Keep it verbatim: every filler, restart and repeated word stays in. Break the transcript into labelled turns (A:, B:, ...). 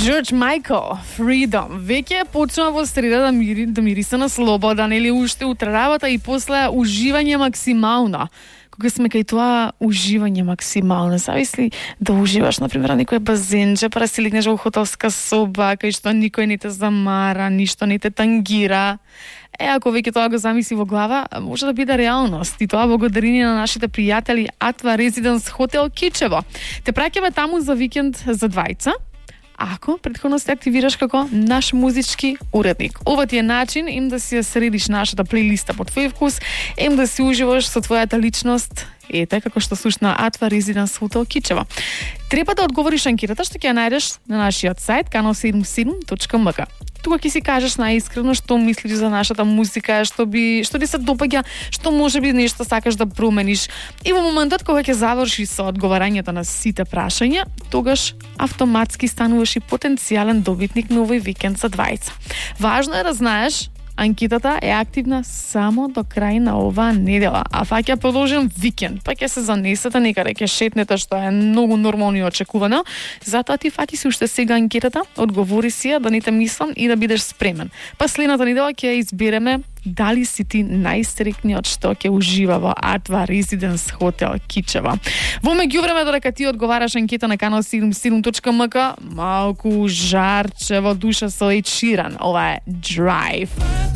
A: George Michael, Freedom. Веќе почнува во среда да, мири, да мириса на слобода, нели уште утре работа и после уживање максимално. Кога сме кај тоа уживање максимално, зависли да уживаш, например, на некој базенче, па да си легнеш во хотелска соба, кај што никој не те замара, ништо не те тангира. Е, ако веќе тоа го замисли во глава, може да биде реалност. И тоа благодарение на нашите пријатели Атва Резиденс Хотел Кичево. Те праќаме таму за викенд за двајца, ако претходно се активираш како наш музички уредник. Ова ти е начин им да си ја средиш нашата плейлиста по твој вкус, им да си уживаш со твојата личност, ете како што слушна Атва Резиденс Хотел Кичево. Треба да одговориш анкетата што ќе ја најдеш на нашиот сајт канал седумдесет и седум точка ем ка. Тука ќе си кажеш најискрено што мислиш за нашата музика, што би што ти се допаѓа, што можеби нешто сакаш да промениш. И во моментот кога ќе завршиш со одговарањето на сите прашања, тогаш автоматски стануваш и потенцијален добитник на овој викенд за двајца. Важно е да знаеш, анкетата е активна само до крај на оваа недела, а фаќа продолжен викенд, па ќе се занесете некаде, ќе шетнете, што е многу нормално и очекувано. Затоа ти фати си уште сега анкетата, одговори си ја, да не те мислам и да бидеш спремен. Па следната недела ќе избереме дали си ти најстрикниот што ќе ужива во Атва Резиденс Хотел Кичево. Во меѓувреме, додека ти одговараш анкета на канал седумдесет и седум точка ем ка, малку жарче во душа со Ed Sheeran. Ова е Drive.